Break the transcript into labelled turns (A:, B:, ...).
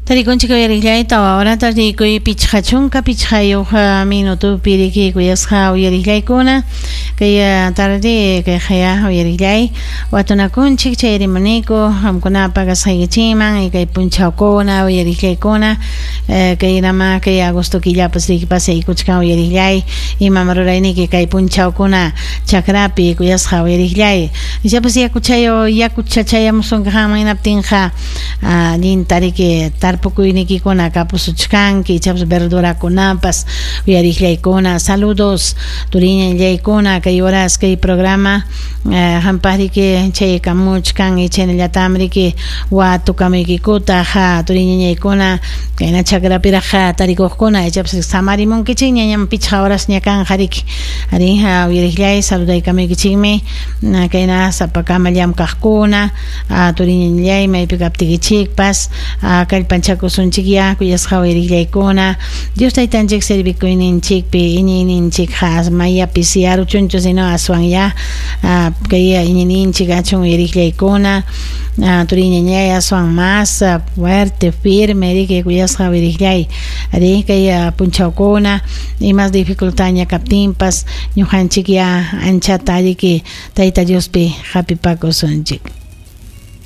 A: Tarikunchik uyariqllay 4 horata rikuy 55 minutopi riki kuyasqa uyariqllaykuna kay tarde kay qaya uyariqllay watunakunchik chay rimuniku qamkunapa kasqaykichikman kay punchawkuna uyariqllaykuna kay nama kay agosto killapas riki pasaykuchkan uyariqllay imam rurayniki kay punchawkuna chakrapi kuyasqa uyariqllay ichapas yakuchayo yakuchachayamusunki qanman hinaptinqa allinta riki tarpukuynikikuna kapusuchkanki ichapas verdurakunapas uyariqllaykuna saludos turiñallaykuna kay horas kay programa qampaq riki chaykamuchkan y chaynallatam riki watukamuykikutaq turiñañaykuna kayna chakrapiraq tarikuqkuna ichapas samarimunkichikña ñam 5 horasña kanqa riki arí uyariqllay saludaykamuykichikmi kayna sapakama llamkaqkuna turiñañallay maypi kaptikichikpas kallpanchakusunchikya kuyasqa uyariqllaykuna Dios taytanchik servikuyninchikpi iñiyninchikqa mayapi siyaruchunchu sino aswan ya kay iñiyninchik achun uyariqllaykuna turiñañay aswan más fuerte firme riki kuyasqa uyariqllay ari kay punchawkuna imas dificultadña kaptinpas ñuqanchik ya anchata riki Tayta Diospi hapipakusunchik.